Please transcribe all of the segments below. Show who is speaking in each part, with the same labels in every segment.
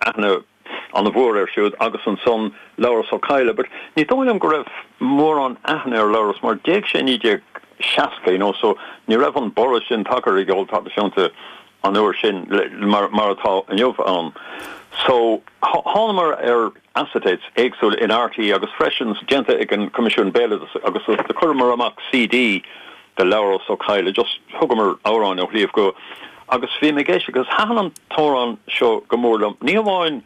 Speaker 1: aithne an-mhór air siúd agus ansan Labhrás Ó Cadhla but ní dóigh liom go raibh mórán aithne ar Labhrás mar d'éag sé i 1960 you know so ní raibh an borradh sin tagtha ar an gceol traidisiúnta an uair sin mar mar atá inniu ann. So thánamar ar acetates éagsúla in RTÉ agus freisin déanta ag an Coimisiún Béaloideas agus do chuireamar amach CD de Labhrás Ó Cadhla just thugamar amhráin ó Shliabh gCua agus bhí mé ag éisteacht agus thaitin an t-amhrán seo go mór liom, ní hamháin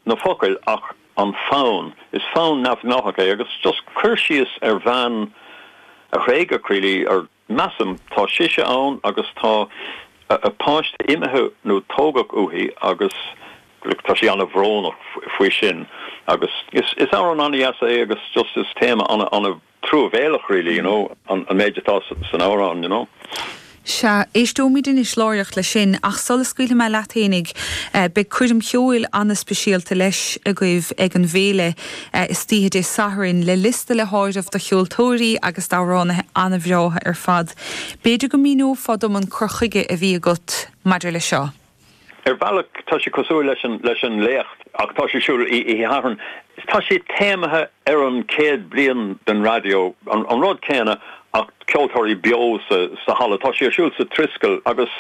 Speaker 1: na focail ach an fonn, is fonn neamhghnáthach é agus just cur síos ar bhean a thréigeadh really ar measaim, tá sise ann agus tá a páiste imithe nó tógadh uaithi agus tá sí an-bhrónach faoi sin agus is amhrán an-dheas é agus just is téama an-, truamhéalach really, you know, an méid atá san amhrán, you know.
Speaker 2: Sea, éisteoimid anois láithreach leis sin, ach sula scaoilfidh mé leat fhéinig, beidh coirm cheoil an-speisialta leis agaibh ag an bhféile istoíche Dé Sathairn, le liosta le háireamh de cheoltóirí agus d'amhránaithe an-bhreátha ar fad. B'fhéidir go míneofá dom an cur chuige a bhí agat maidir leis seo?
Speaker 1: Ar bhealach, tá sé cosúil leis an leis an léacht ach tá sé ar siúl oíche Shathairn. Tá sé téamaithe ar an chéad bliain den raidió, an rud céanna ach ceoltóirí beo sa sa halla. Tá sé ar siúl sa Triskel agus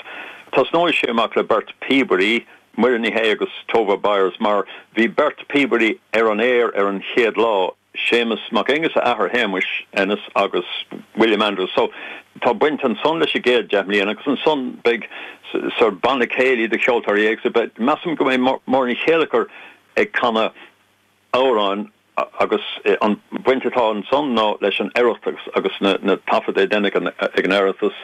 Speaker 1: tosnóidh sé amach le beirt píobairí, Muireann Ní Shé agus Tova Byers, mar bhí beirt píobairí ar an aer ar an chéad lá. Séamus Mac Aonghusa, athair Shéamuis Ennis agus William Andrews. So tá baint ansan leis an gcéad 10 mbliana agus ansan beidh sort banna céilí de cheoltóirí éagsúla. Beidh, measaim go mbeidh Máire Ní Chéilleachair ag canadh amhráin agus an bhaint atá ansan ná leis an Oireachtas agus na taifead a deineadh ag an Oireachtas.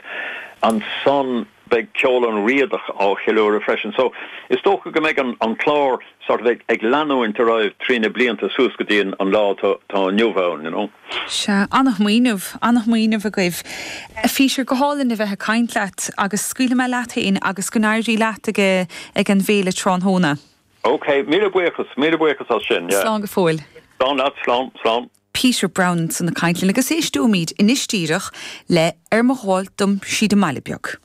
Speaker 1: Ansan beidh ceol an Riadach á cheiliúradh freisin. So is dócha go mbeidh an clár sort of ag leanúint ar aghaidh trí na blianta suas go dtí an lá atá inniu ann, you know.
Speaker 2: Sea, an-smaoineamh, an-smaoineamh agaibh. A Pheter, go hálainn a bheith ag caint leat agus scaoilfidh mé leat féin agus go n-éirí leat ag ag an bhféile tráthnóna.
Speaker 1: Ok, míle buíochas, míle buíochas as sin, yeah.
Speaker 2: Slán go fóill.
Speaker 1: Slán leat, slán, slán.
Speaker 2: Peter Browne ansan ag caint linn agus éisteoimid anois díreach le Ar mo ghabháil dom síd an mbaile beag.